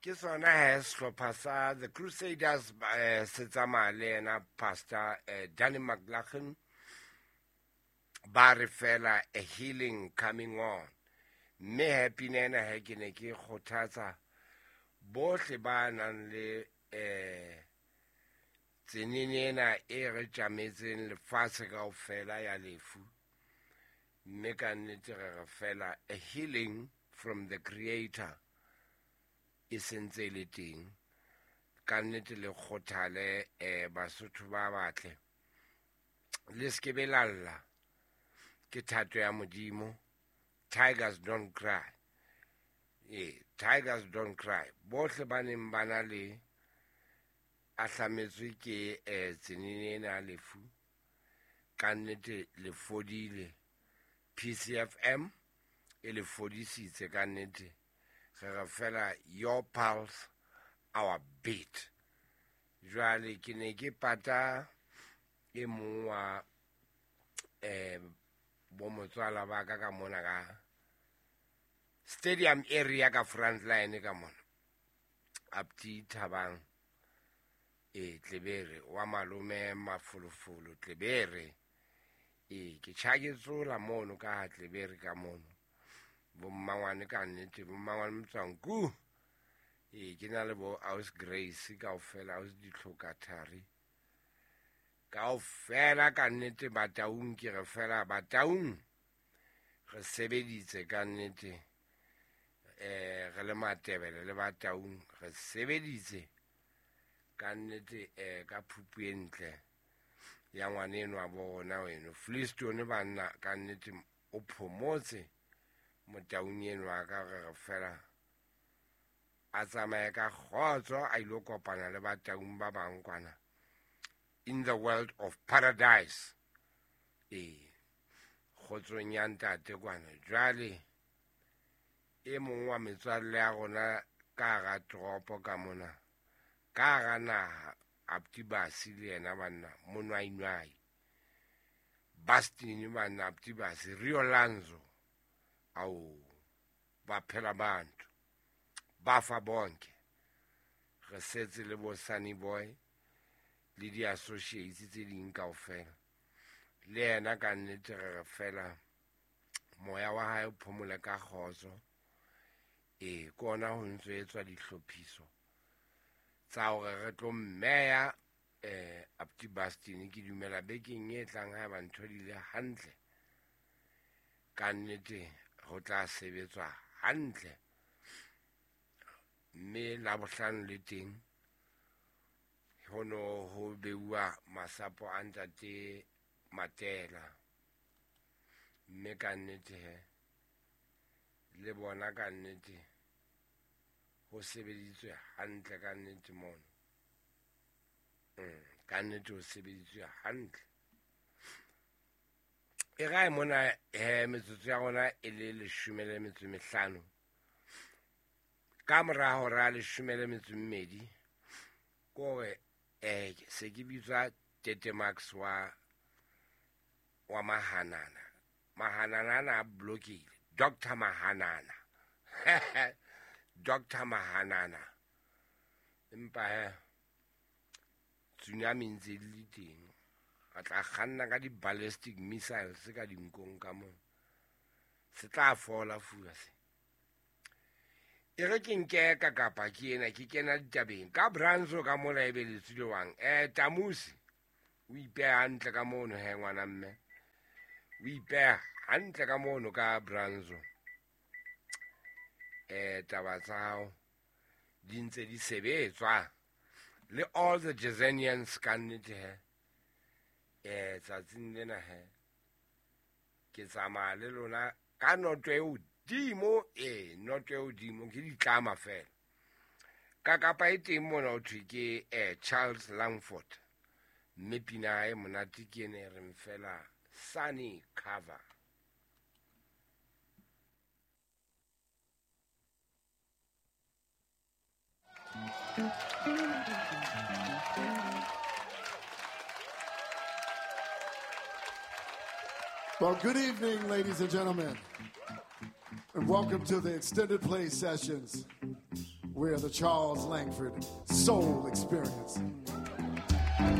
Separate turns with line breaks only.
Ke sona he sehlopha sa The Crusaders se tsamaya le yena Pastor Danny McLaughlin, ba re fela a healing coming on. Mme he pina ena he ke ne ke kgothatsa bohle ba nang le tsenene ena e re tjametseng lefatshe kaofela ya lefu. Mme ka nnete re re fela a healing from the creator e sentse e le teng. Ka nnete le kgothale Basotho ba batle, le se ke be la lla, ke thato ya Modimo. Tigers don't cry. Tigers don't cry. Bohle ba neng ba na le ahlametswe ke tsenene ena ya lefu, ka nnete le fodile. PCFM e le fodisitse ka nnete. Re re fela your pulse, our beat. Jwale ke ne ke pata e mong wa bo motswala ba ka ka mona ka stadium area ka front line ka mona. Apti Thabang Tlebere wa malome Mafolofolo Tlebere. Ke tjhaketsola mono ka ha Tlebere ka mono. Bo mmangwane ka nnete, bo mmangwane Motswanku. Ke na le bo Aus Grace kaofela, Aus Ditlhokathari kaofela ka nnete. Bataung ke re fela Bataung re sebeditse ka nnete. Re le Matebele le Bataung re sebeditse ka nnete ka phupu e ntle ya ngwaneno wa bo rona weno Flistone banna ka nnete o phomotse Motaung eno wa ka. Re re fela a tsamaye ka kgotso a ilo kopana le Bataung ba bang kwana in the world of paradise. Kgotsong ya ntate kwana. Jwale e mong wa metswalle ya rona ka hara toropo ka mona, ka hara naha, Apti Basi le yena banna, monwainwai Bastin banna, Apti Basi Rio Lanzo, ao ba phela bantu ba fa bonke. Re setse le bo Sunny Boy le di-associates tse ding kaofela. Le yena ka nnete re re fela moya wa hae o phomole ka kgotso. Ke ona ho ntso etswa dihlophiso tsa hore re tlo mmeya Apti Bastin. Ke dumela bekeng e tlang haeba ntho di le hantle, ka nnete ho tla sebetswa hantle. Mme Labohlano le teng ho no ho beuwa masapo a ntate Matela. Mme ka nnete he le bona ka nnete ho sebeditswe hantle ka nnete mono. Ka nnete ho sebeditswe hantle. E rae mona he metsotso ya rona e le 15. Ka mora hora 12, kore se ke bitswa Tete Max wa Mahanana. Mahanana ana a blokile. Dr. Mahanana. Dr. Mahanana. Empa he tsunami ntse di le teng. A tla kganna ka di-ballistic missiles ka dinkong ka moo. Se tla fola fua se. E re ke nke ka kapa ke ena ke kena ditabeng. Ka Branzo ka mola e be le tswilewang. Tamusi o ipeha hantle ka mono he ngwana mme. O ipeha hantle ka mono ka Branzo. Taba tsa hao di ntse di sebetswa. Le all the Jezanians ka nnete he. Tsatsing lena he ke tsamaya le lona ka noto e hodimo. Noto e hodimo ke ditlama fela. Ka kapa e teng mona ho thwe ke Charles Langford. Mme pina e monate ke ene e reng fela Sunny Cover.
Well, good evening, ladies and gentlemen, and welcome to the Extended Play Sessions. We're the Charles Langford Soul Experience.